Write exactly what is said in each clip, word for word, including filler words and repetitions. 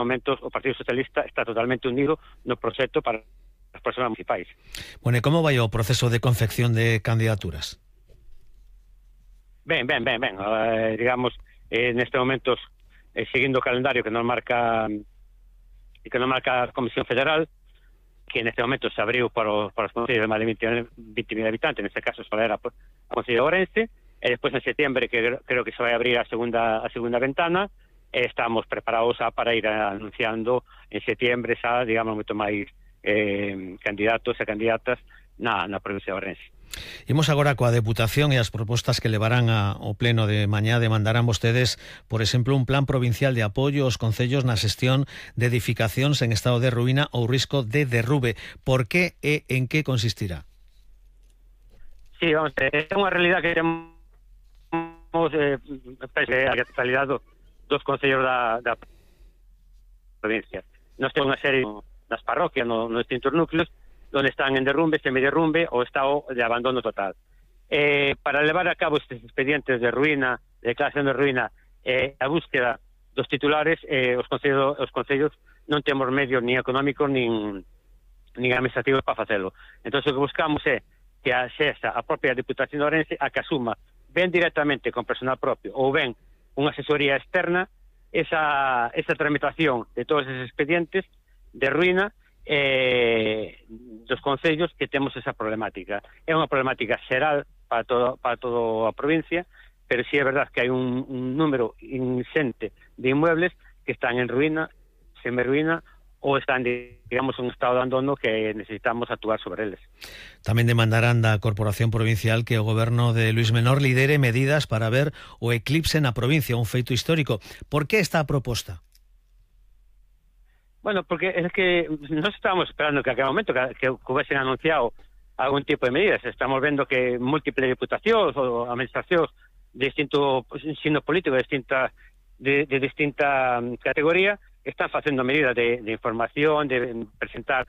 momentos o Partido Socialista está totalmente unido no proxecto para as persoas municipais. Bueno, e como vai o proceso de confección de candidaturas? Ben, ben, ben, ben. Eh, digamos, eh, neste momento, eh, seguindo o calendario que nos marca que nos marca a Comisión Federal, que neste momento se abriu para os, para os concellos de máis de vinte mil habitantes, neste caso só era o Concello de Ourense, e despois en setembro, que creo que se vai abrir a segunda a segunda ventana, e estamos preparados a, para ir anunciando en setembro xa, digamos, moito máis eh, candidatos e candidatas na, na provincia de Ourense. Imos agora coa Deputación e as propostas que levarán ao pleno de mañá. Demandarán vostedes, por exemplo, un plan provincial de apoio aos concellos na xestión de edificacións en estado de ruína ou risco de derrube. Por que e en que consistirá? Sí, vamos, é unha realidad que temos eh, a totalidade dos concellos da, da provincia. Nós temos unha serie das parroquias no, nos distintos núcleos donde están en derrumbe, semiderrumbe ou estado de abandono total. Eh, para levar a cabo estes expedientes de ruína, de declaración de ruína, eh, a búsqueda dos titulares, eh, os concellos, os concellos non temos medios ni económicos nin, nin administrativos para facelo. Entón, o que buscamos é que a xesa, a propia Deputación de Ourense, a que asuma ben directamente con personal propio ou ben unha asesoría externa esa, esa tramitación de todos esos expedientes de ruína eh, dos concellos que temos esa problemática. É unha problemática xeral para todo, para toda a provincia, pero sí é verdad que hai un, un número ingente de inmuebles que están en ruína, semi-ruína, ou están, digamos, en un estado de abandono que necesitamos actuar sobre eles. Tamén demandarán da Corporación Provincial que o goberno de Luís Menor lidere medidas para ver o eclipse na provincia, un feito histórico. Por que esta proposta? Bueno, porque es que nos estábamos esperando que a aquel momento que, que hubiesen anunciado algún tipo de medidas. Estamos vendo que múltiples diputacións ou administracións de distinto signo político, de distinta, de, de distinta categoría, están facendo medidas de, de información, de presentar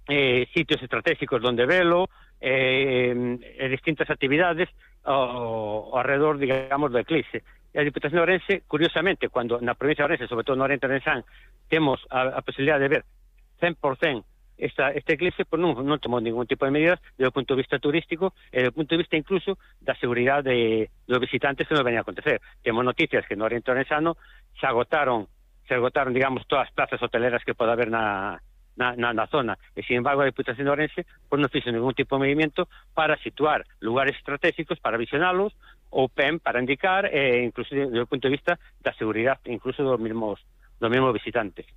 eh, sitios estratégicos donde velo, eh, eh, distintas actividades ao, ao alrededor, digamos, do eclipse. E a Diputación de Ourense, curiosamente, cuando na provincia de Ourense, sobre todo no Oriente Orensán, temos a, a posibilidad de ver cen por cen esta, este eclipse, pues non, non tomou ningún tipo de medidas desde o punto de vista turístico e desde o punto de vista incluso da seguridade de, dos visitantes que nos venía a acontecer. Temos noticias que no Oriente Orensano se agotaron, se agotaron, digamos, todas as plazas hoteleras que pode haber na, na, na, na zona. E, sin embargo, a Diputación de Ourense pues, non fixo ningún tipo de movimento para situar lugares estratégicos, para visionalos, ou P E M para indicar, eh, incluso desde o punto de vista da seguridade, incluso dos mesmos, dos mesmos visitantes.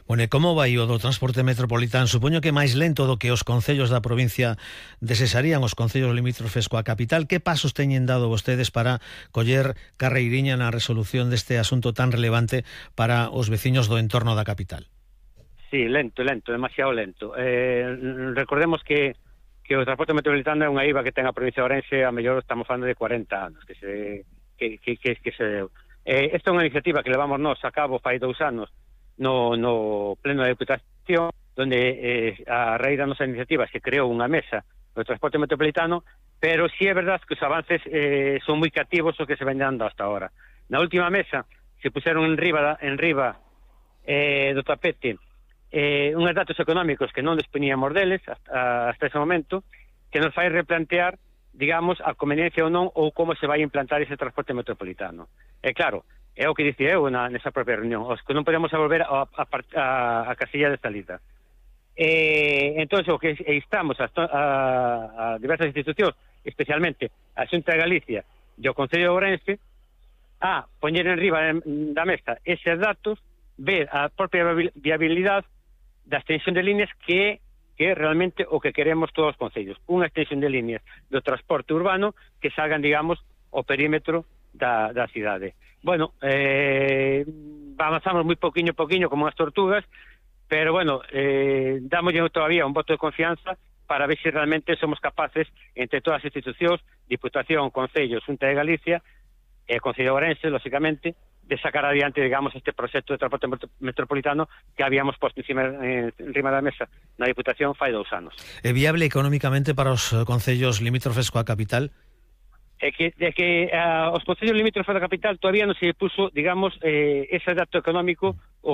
Bueno, e como vai o do transporte metropolitano? Supoño que máis lento do que os concellos da provincia desesarían, os concellos limítrofes coa capital. Que pasos teñen dado vostedes para coller carreiriña na resolución deste asunto tan relevante para os veciños do entorno da capital? Sí, lento, lento, demasiado lento. Eh, recordemos que que o transporte metropolitano é unha I V A que ten a provincia de Ourense, a mellor estamos falando de cuarenta anos que se que, que, que, que se deu. Eh, esta é unha iniciativa que levamos nós a cabo fai dous anos no, no pleno da Deputación, donde eh, a raíz da nosa iniciativa se creou unha mesa do transporte metropolitano, pero sí é verdad que os avances eh, son moi cativos os que se ven dando hasta ahora. Na última mesa se puseron en riba, en riba eh, do tapete eh, uns datos económicos que non dispoñíamos deles hasta, hasta ese momento, que nos fai replantear, digamos, a conveniencia ou non ou como se vai implantar ese transporte metropolitano. E claro, é o que dicía eu na, nesa propia reunión, os que non podemos volver a, a, a, a casilla de salida. Eh, entón, o que estamos a, a, a diversas institucións, especialmente a Xunta de Galicia e o Concello de Ourense, a poñer en riba da mesa eses datos, ver a propia viabilidade da extensión de líneas que que é realmente o que queremos todos os concellos. Unha extensión de líneas do transporte urbano que salgan, digamos, o perímetro da, da cidade. Bueno, eh, avanzamos moi poquinho poquinho como as tortugas, pero bueno, eh, dámoslle todavía un voto de confianza para ver se si realmente somos capaces, entre todas as institucións, Diputación, Concello, Xunta de Galicia, e Concello de Ourense, lógicamente, de sacar adiante, digamos, este proxecto de transporte metropolitano que habíamos posto encima, en rima da mesa na Diputación fai dous anos. É viable económicamente para os concellos limítrofes coa capital? É que, de que uh, os concellos limítrofes da capital todavía non se puso, digamos, eh, ese dato económico o que